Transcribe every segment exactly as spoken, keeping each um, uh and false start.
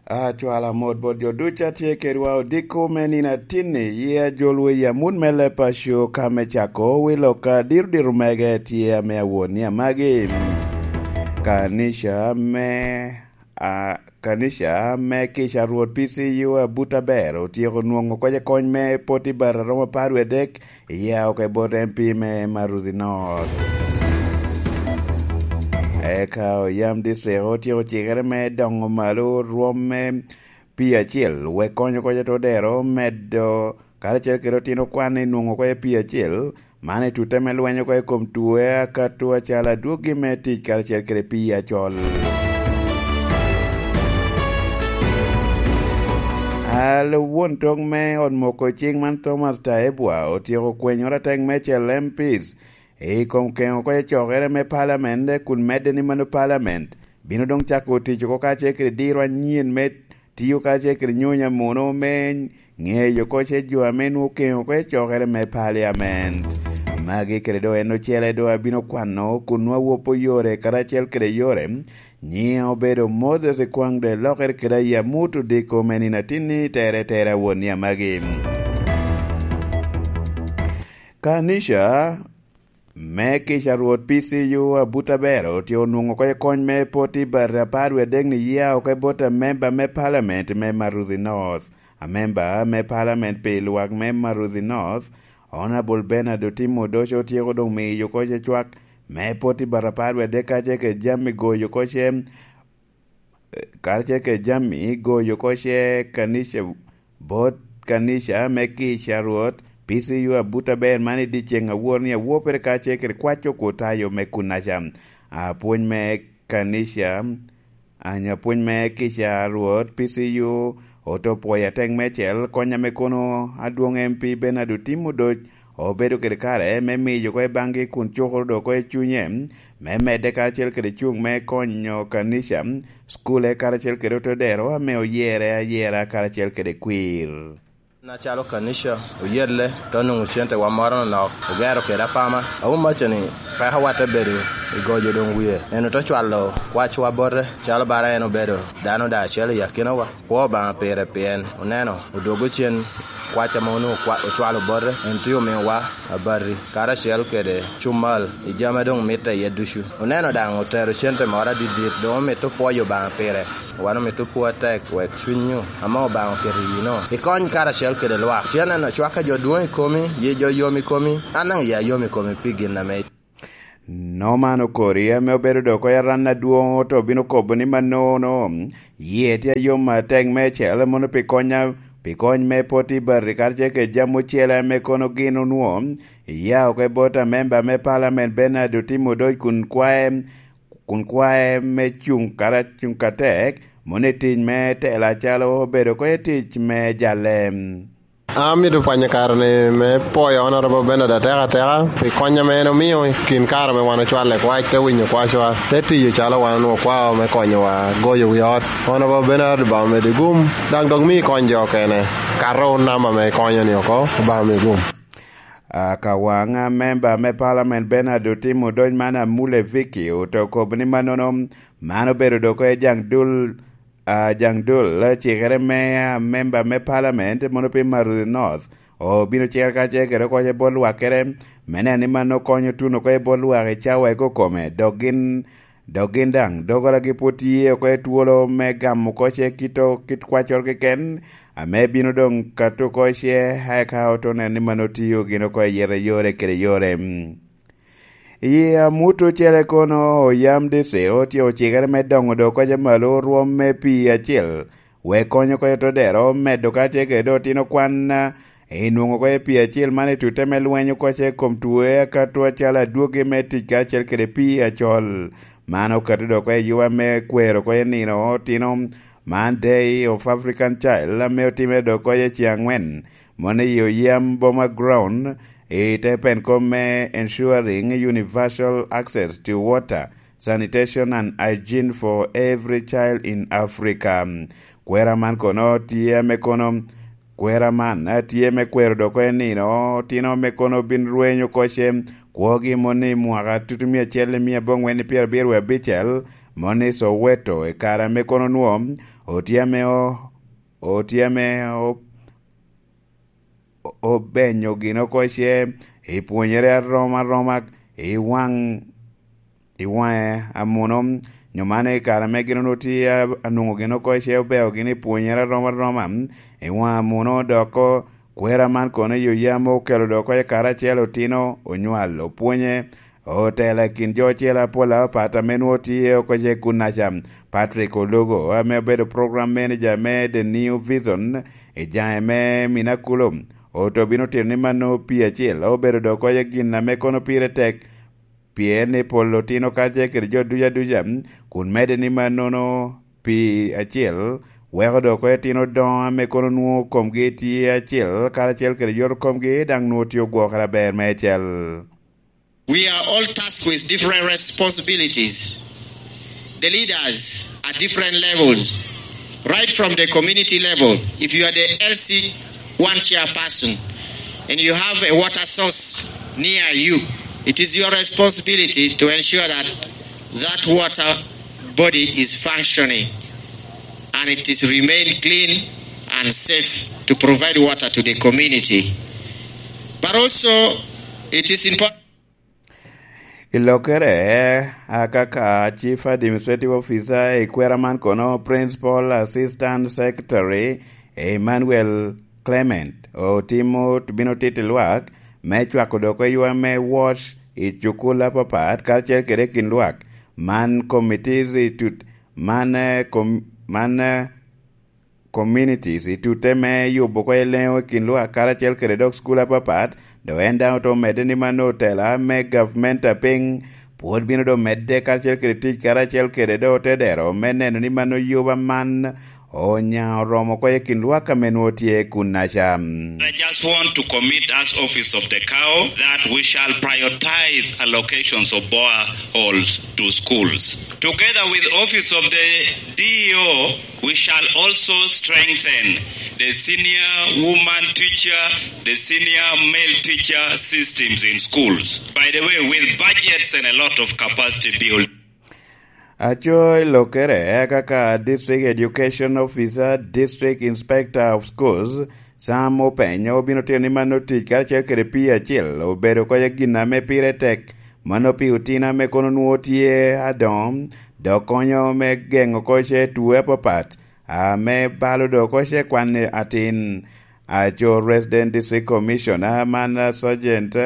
Acwalo amot bot jo ducu a tye kedwa odiko me nino atinni, yi ajolwa i amut me leb paco ka me cako wi lok a diro diro mege tye ame awot ni amagi. Kanica me, a, kanica me kica Rwot P C U Abuta ber otyeko nwoŋo kocokony me poti bata romo apar wie adek, iya oko i bot M P me Maruthi North. Eka oyam district otyeko cikere me doŋo malo rwom me pii acel, wek konyo kocokony odero medo, karacel kede otino kwan i nwoŋo kocokony pii acel, man i tute me lweny oko i kom tuo akato acalo adwogi me tic karacel kede pii acol. Alo won tok me ot moko cing man Thomas Taebwa otyeko kwenyo rateng me cel M Ps i kom keŋo oko i cokere me palament, kun medde ni mano palament bino doŋ cako tic oko kacel kede diro anyen me tiyo kacel kede nyonya muno me ŋeyo oko ce jo ame nwoŋo okeŋo oko i cokere me paliament. Magi kede doŋ en ocele doŋ abino kwano kun nwoŋo awopo yore karacel kede yore. Nyiŋe obedo Moses Ekwaŋ doŋ elokere kede Ayamut Odiko me nino atinni tere tere awon ni amagi. Kanica me kica Rwot P C U Abuta Bero tye onwoŋo oko i kony me poti bati apar wie adek ni yia oko i bot amemba me palament me Maruthi North. Amemba me palament pi lwak me Maruthi North, Honorable Bernard Otim Odoco otyeko doŋ miyo oko ce cwak me poti bati apar wie adek kacel kede jami goyo oko ce, kacel kede jami goyo oko ce kanica, bot kanica me kica Rwot, P C U Abuta Ber man i dyeceŋ awor ni awopere kacel kede kwaco kwo tayo me kunaca. Apwony me kanica, anyo apwony me kica Rwot, P C U, oto pwoyo atek me cel, kony ame kono adwoŋ M P Bernard Otim Odoc obedo kede kare me miyo oko i baŋgi kun cukoro doŋ oko i cunye me medde karacel kede cuŋ me konyo kanica, cukule karacel kede otodero ame oyere ayera karacel kede kwir. Acalo kanica oyelle, te onwoŋo cente wa moro nonok, ogero kede apama. Awumaca ni peko wa te bedo i gojo doŋ wie. En ote cwalo kwacwa bote, calo bara en obedo dano daŋ acel i akinawa. Kwo Obaŋa pire pien oneno odwogo cen kwac ame onwoŋo kwa-, ocwalo bote, en tye omiwa abati, karacel kede cumal i jami a doŋ mitte iye ducu. Oneno daŋ otero cente moro adidit, doŋ omito pwoyo Obaŋa pire. Wan omito pwo atek wek cwinyu ame Obaŋa oketo i yino ikony karacel kede lwak. Tye neno cwak a jo dwoŋ i komi, yi jo yom i komi, an daŋ ya yom i komi pi gin ame Norman Okori, ame obedo dok oko i aran adwoŋ, to bino kobo ni mannono, yie tye ayom atek meicel mono pi konya, pi kony me poti bati, karacel kede jami ocele ame kono gin onwoŋo iya oko i bot amemba me palament Bernard Otim Odoc kun kwae, kun kwae me cuŋ kara-, cuŋ katek, mono i tic me tela acalo obedo oko i tic me jalle. Amito pwonyo kare-ni me pwoyo Honorable Bernard atek ateka pi kony ame en omio i kin kare ame wan ocwalle kwac, te winyo kwacwa, te tiyo calo wan onwoŋo kwao me konyowa goyo wi ot. Honorable Bernard, Obaŋa omedi gum, daŋ dok mi ikony jo okene. Kato namba ame ikonyo-ni oko, Obaŋa mi gum. Akawaŋ, a memba me palament Bernard Otim Odoc man Amule Vicky ote okobo ni mannono, man obedo dok oko i jaŋ dul, a, jaŋ dul cikere me, a, memba me palament mono pi Maruthi North obino cikere kacel kede oko i bot lwakkere, me neno ni mano konyo tuno oko i bot lwak i cawa i kokome, dok gin, dok gin daŋ dogolagi pwod tye oko i twolo me gamo oko ce kit o-, kit kwaccoro keken, ame bino doŋ kato oko ce, eka oto neno ni mano tio gin oko i yete yore kede yore. I amut ocele kono, oyam district otye ocikere me doŋo dok oko ce malo rwom me pii acel, wek konyo oko i todero medo kacel kede otino kwan, a, i nwoŋo oko i pii acel man i tute me lweny oko ce kom tuo akato acalo adwogi me tic kacel kede pii acol. Man okato dok oko i yuba me kwero oko i nino otino man Day of African Child ame otimere dok oko i ceŋ angwen, mono i Oyam Boma Ground, i te pen kom me Ensuring Universal Access to Water, Sanitation and Hygiene for Every Child in Africa. Kwera man kono tye ame kono, kwera man, eh, tye me kwero dok oko i nino otino ame kono bin rwenyo oko ce kwogi mono i mwaka tutumia acel i mia abongwen i pyerabiro wie abicel, mono i Soweto, i kare ame kono nwo otye ame o-, otye ame o-, o-, obenyo gin oko ce i pwonyere arom aroma i waŋ, i waŋe amuno, nyo man i kare ame gin onwoŋo tye a-, anwoŋo gin oko ce obeo gin i pwonyere arom aroma i waŋe amuno, dok o-, kwera man kono i oya ame okelo dok oko i kare acel otino onywal opwonye, otela i kin jo ocele apol apapat ame nwoŋo tye oko ce kunnaca. Patrick Ologo, ame obedo program manager me The New Vision i jaŋe me Minakulo, oto bino tito ni mano pii acel obedo dok oko ce gin ame kono pire tek, pien ni pol otino kacel kede jo ducu aduca, kun medde ni mannono pii acel weko dok oko etino doŋo ame kono nwoŋo komgi tye acel karacel kede yot komgi, daŋ nwoŋo tye ogwokere aber meicel. We are all tasked with different responsibilities. The leaders at different levels, right from the community level. If you are the L C one chairperson and you have a water source near you, it is your responsibility to ensure that that water body is functioning and it is remain clean and safe to provide water to the community. But also, it is important. I lokkere, a, kaka Chief Administrative Officer i kwera man kono, Principal Assistant Secretary Emmanuel Clement, otimo, bino tito lwak me cwako dok eywa me wot i cukul apapat, karacel kede kin lwak man committees i tut, man, eh, com-, man, eh, communities i tute me yubo oko eleŋo i kin lwak karacel kede dok skul apapat, dok en daŋ oto medde ni mano otela me gavment apiny pwod bino dok medde karacel kede tic karacel kede dok otedero me neno ni mano yuba man onya oromo oko i kin lwak ame nwoŋo tye kunnaca. I just want to commit as office of the cow that we shall prioritize allocations of boreholes to schools. Together with office of the D E O, we shall also strengthen the senior woman teacher, the senior male teacher systems in schools. By the way, with budgets and a lot of capacity building. Aco i lokkere, kaka District Education Officer, District Inspector of Schools, Sam Openyo, obino tito ni mano tic karacel kede pii acel obedo oko gin ame pire tek, mano pi otino ame kono nwoŋo tye adoŋo, dok konyo me geŋo oko ce tuo apapat, ame balo dok oko ce kwan atin. Aco Resident District Commissioner man, Sergeant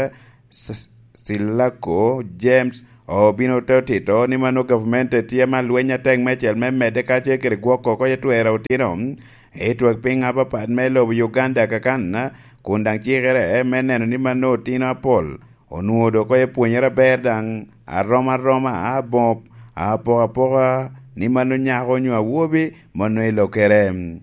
S-, Silako James obino te otito ni mano gavment tye ma lweny atek meicel me medde kacel kede gwoko oko i twero otino i twak piny apapat me lobo Uganda kakan, kun daŋ cikere me neno ni mano otino apol onwoŋo dok oko epwonyere aber daŋ arom aroma, aboŋo apokapoka ni mano nyako onyo awobi, mano i lokere.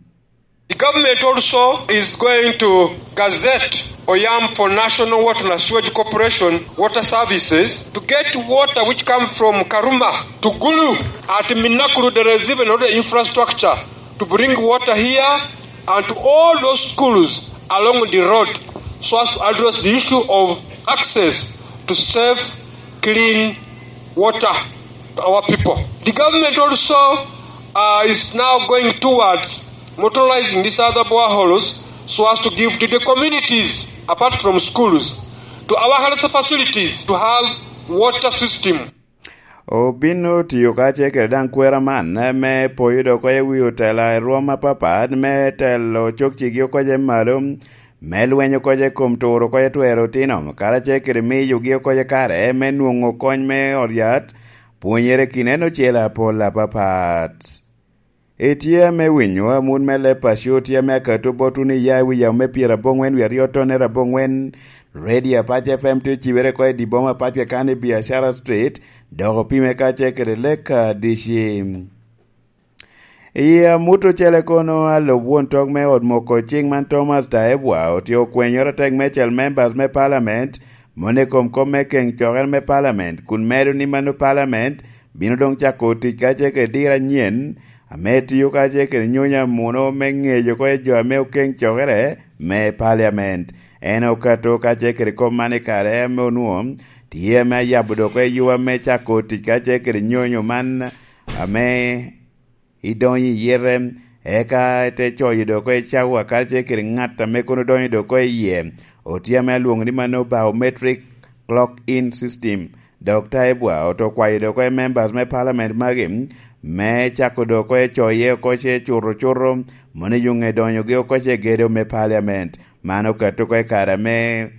The government also is going to gazette Oyam for National Water and Sewage Corporation water services to get water which come from Karuma to Gulu at Minakuru. There is even other infrastructure to bring water here and to all those schools along the road so as to address the issue of access to safe, clean water to our people. The government also, uh, is now going towards motorizing these other boreholes so as to give to the communities, apart from schools, to our health facilities to have water system. Obino tiyo kacel kede daŋ kwera man me poyo dok oko i wi otela i rwom apapat me telo cokcigi oko ce malo, me lweny oko ce kom turo oko ce twero otino, karacel kede miyogi oko ce kare me nwoŋo kony me ot yat, pwonyere kineno ocele apol apapat. Itye ame winyo amut me leb paco tye ame akato botwu ni ya i wi yamo me pyeraboŋwen wie aryo tonnere aboŋwen, Radio Apac F M tye ocibere oko i dye boma apac keken i Biashara Street, dok opime kacel kede Leka D C. I amut ocele kono, alub won tok me ot moko ciŋ man Thomas Tayebwa otye okwenyoro atek meicel members me parliament, moni i kom kop me keŋ cokere me parliament, kun medo ni mano parliament bino doŋ cako tic kacel kede diro anyen, ame tio kacel kede nyonyo amuno me ŋeco oko i jo ame okeŋ cokere me parliament. En okato kacel kede kop man i kare ame onwoŋo tye ame ayabo dok oko i yuba me cako tic kacel kede nyonyo man ame idonyo i yite. Eka te coyo dok oko i cawa karacel kede ŋat ame kono donyo dok oko iye, otye ame alwoŋo ni mano biometric clock in system. Dok Taibwa oto kwayo dok oko i members me parliament magi me cako dok oko i coye oko ce cuto cuto, mono i yuŋe donyogi oko ce gedo me parliament. Man okato oko i kare ame,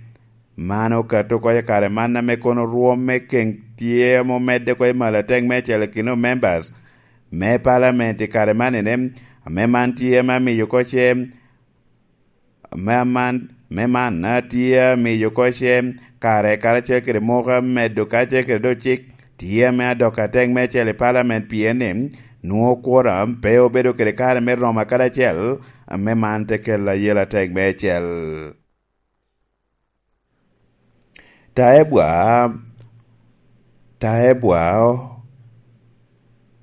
man okato oko i kare man ame kono rwom me keŋ tye ame omedde oko i malo atek me acel i kin members me parliament i kare man ene, ame man tye ame amiyo oko ce, me man, me man a tye amiyo oko ce kare karacel kede muka medo karacel kede do cik tye ame adok atek me acel i parliament pien ni nwoŋo kwora pe obedo kede kare me romo akadi acel, ame man te kelo ayela atek me acel. Taebwa, Taebwa o-,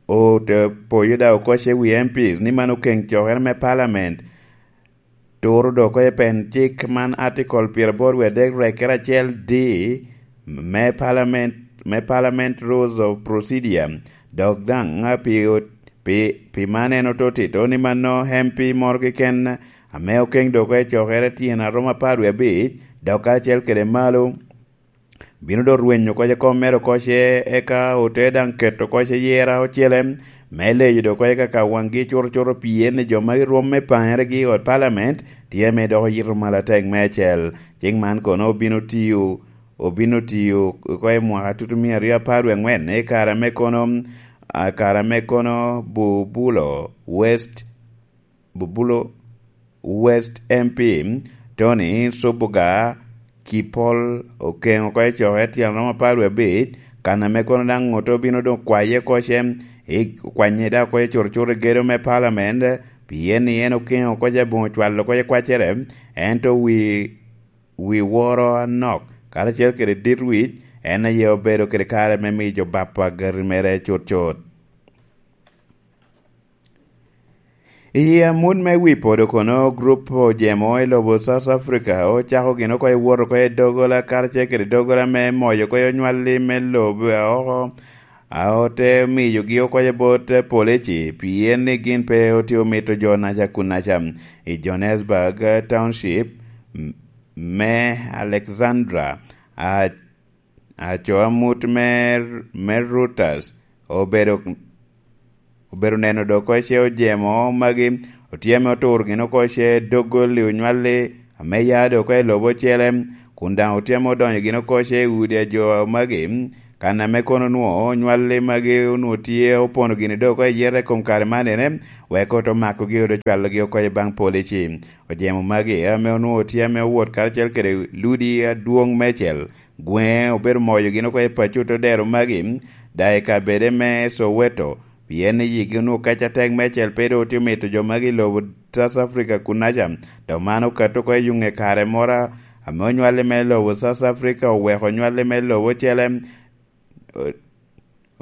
ote poyo da oko ce wi M Ps ni man okeŋ cokere me parliament turo dok oko i pen cik man article pyeraboro wiye adek rekkere acel D me parliament, me parliament rules of procedure. Dok daŋ pi, pi, pi man en ototito ni mano M P moro keken ame okeŋ dok oko i cokere tyen aromo apar wie abic, dok karacel kede malo, bino dok rwenyo oko ce kom mere oko ce, eka ote daŋ keto oko ce yera ocele me leyo dok oko ce kaka waŋgi cuto cuto pien ni jo ma rwom me paŋeregi i ot parliament tye ame dok oyito malo atek me acel. Cik man kono obino tiyo, obino tiyo oko i mwaka tutu mia aryo apar wie aŋwen, i kare ame kono, a, kare ame kono Bubulo West, Bubulo West M P Tony Subuga Kipol okeŋo oko i coke tyen romo apar wie abic, kan ame kono daŋ ŋut obino doŋ kwaye oko ce, i kwanye daŋ oko i curucuru i gedo me parliament, pien ni en okeŋo oko ce aboŋo cwalo oko i kwaccere, ento wi, wi woro anok, karacel kede dit wic, en aye obedo kede kare me miyo jo bap agati mere cut cut. I amut me wi podo kono, grup ojemo i lobo South Africa ocako gin oko i wot oko i doggola karacel kede doggola me moyo oko i onywalli me lobo a oko, a ote miyogi oko i bot polici, pien ni gin pe otye omito jo naca kun naca. I Johannesburg Township m-, me Alexandra, a aco amut me, me Reuters obedo, obedo neno dok oko ce ojemo magi, otye ame oturo gin oko ce doggola i onywalli ame ya dok oko i lobo ocele, kun daŋ otye ame odonyo gin oko ce i udi a jo magi, kan ame kono onwoŋo onywalli magi onwoŋo tye opono gini dok oko i yete i kom kare man ene, wek oto makogi oto cwalogi oko i baŋ polici. Ojemo magi ame onwoŋo tye ame owot karacel kede ludi adwoŋ meicel, gweŋe obedo moyo gin oko i paco te dero magi, daŋ i kabede me Soweto, pien ni yigi onwoŋo kac atek meicel pe doŋ otye mito jo magi i lobo South Africa kun naca, dok man okato oko i yuŋe kare moro ame onywalli me lobo South Africa oweko onywalli me lobo ocele, o-,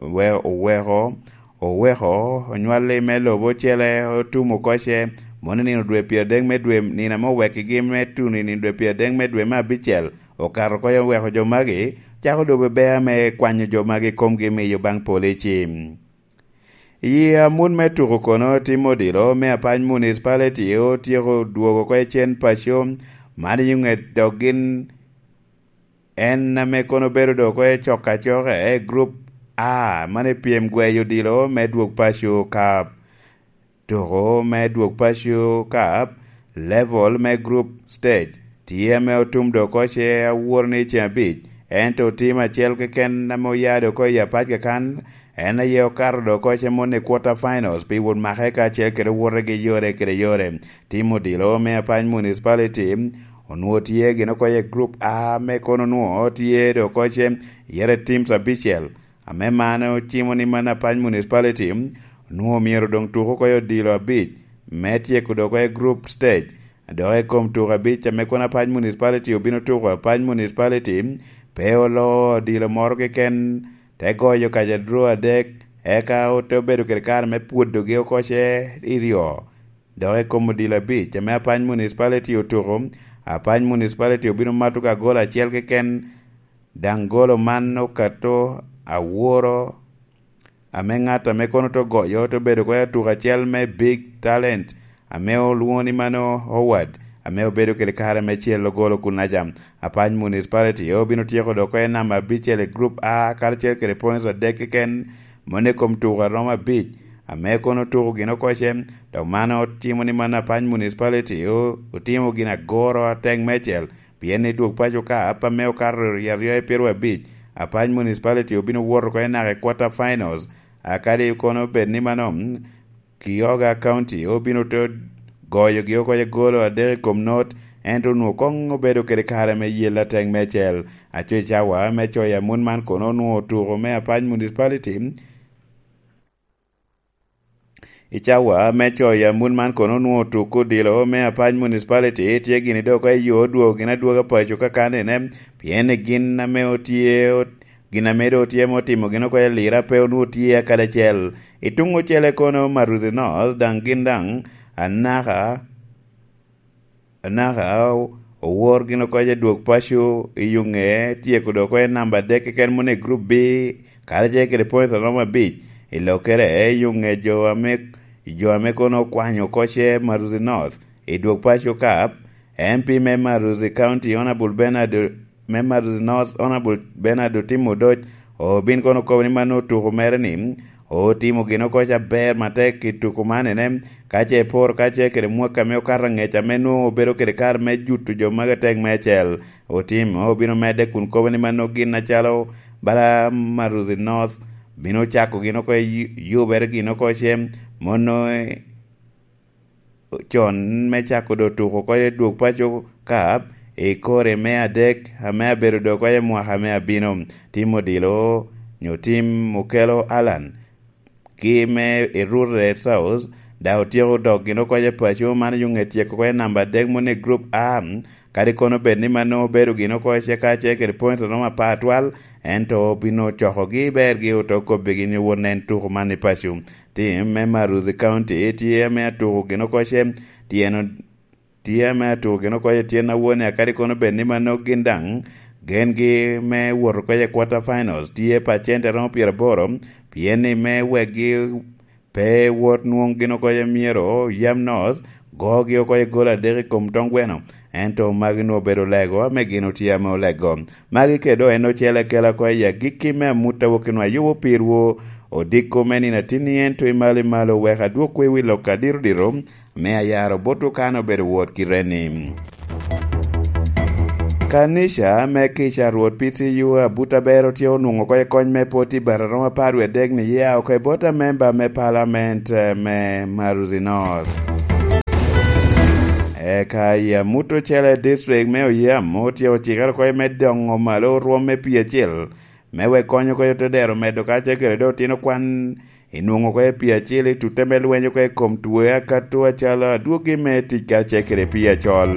we-, oweko, oweko onywalli me lobo ocele otum oko ce, mono i nino dwe pyeradek me dwe, nino ame owekkigi me tuno i nino dwe pyeradek me dwe me abicel, okato oko oweko jo magi, cako dobo bea me kwanyo jo magi i komgi miyo baŋ polici. I amut me tuko kono, tim odilo me Apac Municipality otyeko dwogo oko i cen paco, man i ŋet dok gin en ame kono bedo dok oko i cok acoka i Group A, man i pyem gweyo odilo me dwog paco ka tuko me dwog paco ka level me group stage tye ame otum dok oko ce awor ni ceng abic, ento tim acel keken ame oya dok oko i apac kakan, en aye okato dok oko ce moni quarter finals pi wot make kacel kede wotegi yore kede yore. Tim odilo me Apac Municipality onwoŋo tye gin oko i Group A, me kono onwoŋo tye dok oko ce yere teams abicel, ame man ocimo ni man Apac Municipality onwoŋo myero doŋ tuk oko i odilo abic me tyeko dok oko i group stage. Dok i kom tuko abic ame kono Apac Municipality obino tuko, Apac Municipality pe oloo odilo moro keken, te goyo kaca draw adek, eka ote obedo kede kare me pwodogi oko ce i ryo. Dok i kom odilo abic ame Apac Municipality otuko, Apac Municipality obino mato ka golo acel keken, daŋ golo man okato aworo ame ŋat ame kono te goyo te obedo oko i atuko acel me Big Talent, ame olwoŋo ni mano Howard, ame obedo kede kare me cel ogolo kunaca. Apac Municipality obino tyeko dok oko i namba abicel i Group A, karacel kede points adek keken, mano i kom tuko a romo abic, ame kono otuko gin oko ce, dok man otimo ni mano Apac Municipality o-, otimo gin agoro atek meicel, pien i dwog paco ka ap ame okato i aryo i piro abic, Apac Municipality obino wot oko i naka i quarter finals, a kadi kono bed ni mano, mm, Kioga County obino te goyogi oko i golo adek i kom not, ento onwoŋo koŋ obedo kede kare me yel atek meicel. Aco i cawa me coyo amut man kono onwoŋo otuko me Apac Municipality, i cawa me coyo amut man kono onwoŋo tuk odilo me Apac Municipality tye gini dok oko i yo odwogo gin adwoga paco kakanine, pien i gin ame otye, gin ame doŋ otye me otimo gin oko i Lira pe onwoŋo tye akadi acel. I tuŋ ocele kono Maruthi North daŋ gin daŋ anaka anaka o-, owor gin oko i dwog paco i yo ŋe tyeko dok oko i namba adek keken moni i Group B, karacel kede points a romo abic. I lokkere i yo ŋe jo ame, jo ame kono okwanyo oko ce Maruthi North i dwog paco kap, M P me Maruthi County, Honorable Bernard, me Maruthi North, Honorable Bernard Otim Odoc, obin kono okobo ni mano otuko mere ni, otimo gin oko ca aber matek i tuko man ene, ka ce iporo ka ce kede mwaka me okato angec ame nwoŋo obedo kede kare me juto jo magi atek me acel. Otim obino medde kun kobo ni mano gin acalo bala Maruthi North bino cako gin oko i yu-, yubere gin oko ce, mono con me cako do tuko oko i dwog paco kap i kore me adek ame abedo do oko i mwaka me abino. Tim odilo nyo tim okelo Alan ki me i Rural South, da otyeko dok gin oko i paco man yo ŋe tyeko oko i namba adek moni i Group A, kadi kono bed ni mano obedo gin oko ce ka ce kede points romo apar atwal, ento obino cokogi bergi oto kobbigi ni wot nen tuko man i paco. Tim me Maruthi County tye ame atuko gin oko ce, tyen o-, tye ame atuko gin oko ce tyen awone, akadi kono bed ni mano gin daŋ gengi me wot oko i quarter finals tye pacent aromo pyeraboro, pien ni me wekgi pe wot nwoŋ gin oko ce myero yam North gogi oko i gol adek i kom tong gweno, ento magi nwoŋo obedo lego ame gin otye ame olego. Magi kede en ocele akela oko i agikki me amut a wok i nwa yubo pirwu odiko me nino atinni, ento i malo i malo wek adwok kwe wi lok adito dito me ayaro bot okano obedo wot ki reni. Kanica me kica Rwot P C U Abuta Bero tye onwoŋo oko i kony me poti bata romo apar wie adek ni ya oko i bot amemba me palament, eh, me Maruzi North. Eka i amut ocele district me Oyam otyeko cikere oko i me doŋo malo rwom me pii acel, me wek kony oko i te dero medo ka ce kede dok tino kwan i nwoŋo oko i pii acel i tutte me lweny oko i kom twe akato acalo adwogi me tic ka ce kede pii acol.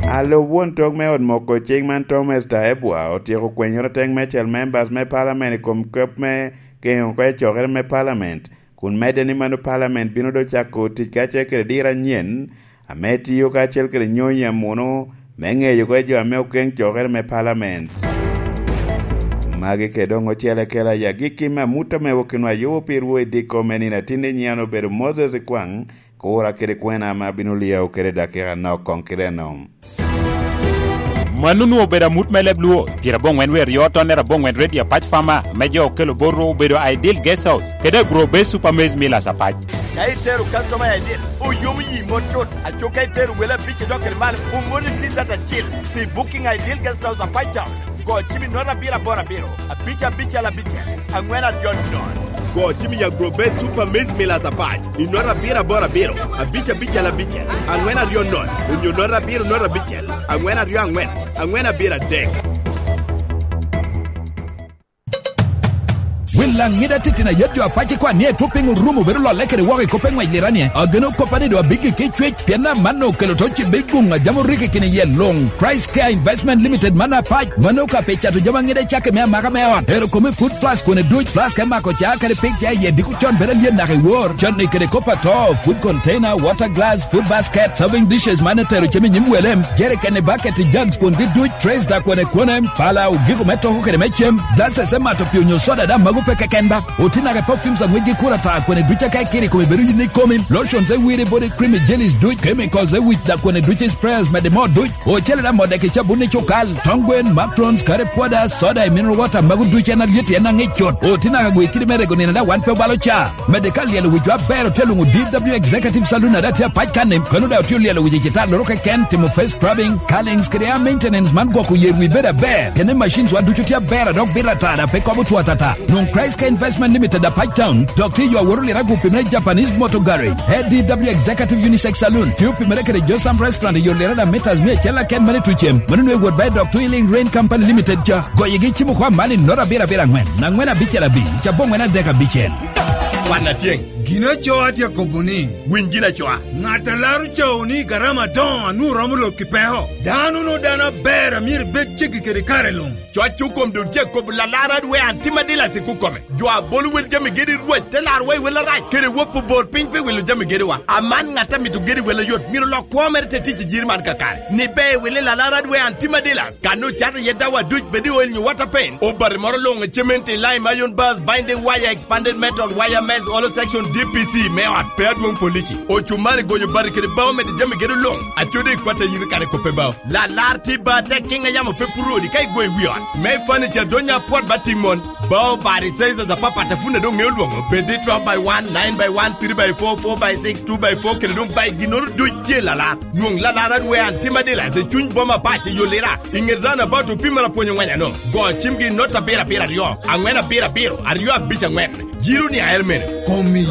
Alub won tok me ot moko cing man Thomas Taebwa otyeko kwenyoro teng me cel members me palament i kom kop me keŋo oko i cokere me palament, kun medde ni mano palament bino doŋ cako tic kacel kede diro anyen, ame tiyo kacel kede nyonyo amuno me ŋeyo oko jo ame okeŋ cokere me palament. Magi kede doŋ ocele kela i agikki me amut ame okinwa yubo pirwu i diko me nino atinni nyian obedo Moses Ikwaŋ, kura kede kwena ame abino liyao kede dakika nok koŋ kite eno. Mano onwoŋo obedo amut me leb Luo, pyeraboŋwen wie aryo tonnere aboŋwen redio apac Fama, me jo okelo botwu obedo Ideal Guest House, kede Agro Base Super Maize Millers apac. Ka itero customer Ideal, oyomo yi mot cut, aco ka itero wele abic idok kede malo, omoni T-shirt acil pi booking Ideal Guest House apac town. Go cim i note abiro aboro abiro, abic abicel abicel, angwen aryo nono. Go cim i Agro Base Super Maize Millers apac, i note abiro aboro abiro, abic abicel abicel, angwen aryo nono, onyo note abiro note abicel, angwen aryo angwen, angwen abiro adek. Laŋ ŋida titino a yet jo apac i kwan ni etwop piny orumo bedo lolle kede woko i kop eŋwec lira ni, ageno koppa ni doŋ abiggi ki cwec, pien amanno okelo to cibbe guŋ a jam orikki kine yie luŋ. Christ Care Investment Limited man apac, mano ka pe cato jami aŋida i cakki me amaka me ot. Ero kome food flask kone duc, flask me mako ca kede pig ca i yie diko con bedo alyet naka i wor. Canni kede kop ato, food container, water glass, food basket, serving dishes man etero cem i nyim welem, jerikeni, baketi, jugs kwongi duc, trays da kwone kwone, pala, ogiko me toko kede me cem, glasses me mato pii onyo soda da magu pe keken ba. Otinake perfumes aŋwec gi kura ta kwene duc aka ikiri kome bedo yin ikomi, lotions e wiri body cream i jellies duc, chemicals e wic da kwene duc i sprayers mede mo duc, ocele da modeki cabun i cukal, tongwen, matrons, kare pwoda, soda i mineral water magu duc en alyet en aŋic cut. Otinaka gwe kidi me rego nino da wan pe obalo ca. Mede ka lyelo wic jo aber otye luŋo D W Executive Saloon ada tye apac kanni, kono da otye olyelo wic i cita loro keken, timo face scrubbing, curlings, kede air maintenance man gwoko yer wi bedo aber. Kene machines wa ducu tye aber a dok bito atara pe kobo two atata. Nwoŋ Christ Care Investment Limited apac town, dok tye yo aworo lira gupi me Japanese Motor Garage. A D W Executive Unisex Saloon, tye opimere kede Josam Restaurant i yo lira da meters mia acel aken mane tucem. Mano nwe wot by Doctor Healing Rain Company Limited ca. Goyegi cimo kwa mani noro abiro abiro angwen, angwen abicel abic, cabo angwen adek abicel. Kwan atyeŋ. Gin acoo atye akobo ni, winy gin acoa. Ŋat a laro cawo ni garama adoŋo a nwoŋo romo lok i peko. Dano no dano aber a myero ibed ceggi kede kare luŋ. Coc okom doŋ tye akobo lalar adwe an tim adilas i kukome. Jo a bolo wel jami gedi rwac te laro wa i wel arac, kede wop obor piny pi wilo jami gediwa. Aman ŋat a mito gedi wel ayot, myero lok kwo mere te tic i jiri man kakare. Ni be i wili lalar adwe an tim adilas. Kan ocato iye dawa duc bed i oil nyo water paint. Obati moro luŋ i cement i lime, iron bars, binding wire, expanded metal, wire mesh, hollow section, D P C me ot, pe adwoŋ polici. Ocumari gonyo bati kede bao mede jami gedo luŋ. Acode i kwat a yiri kare kope bao. Lalar tye ba tek kiŋ a yamo pe puro odi ka igwo i wi ot. Me furniture donya apwot ba tiŋ mon. Bao bati sizes apapat a pun a doŋ ŋeo lwoŋo. Bed i twelve by one, nine by one, three by four, four by six, two by four, kede doŋ by ginnoro duc tye lalar. Nwoŋ lalar adwe an tim adilas i cuny boma pac i Yolira. I ŋet roundabout opimere apwony ongweny ano. Go cimgi i not abiro abiro aryo, angwen abiro abiro, aryo abic angwen. Jiro ni aer mene. Kom i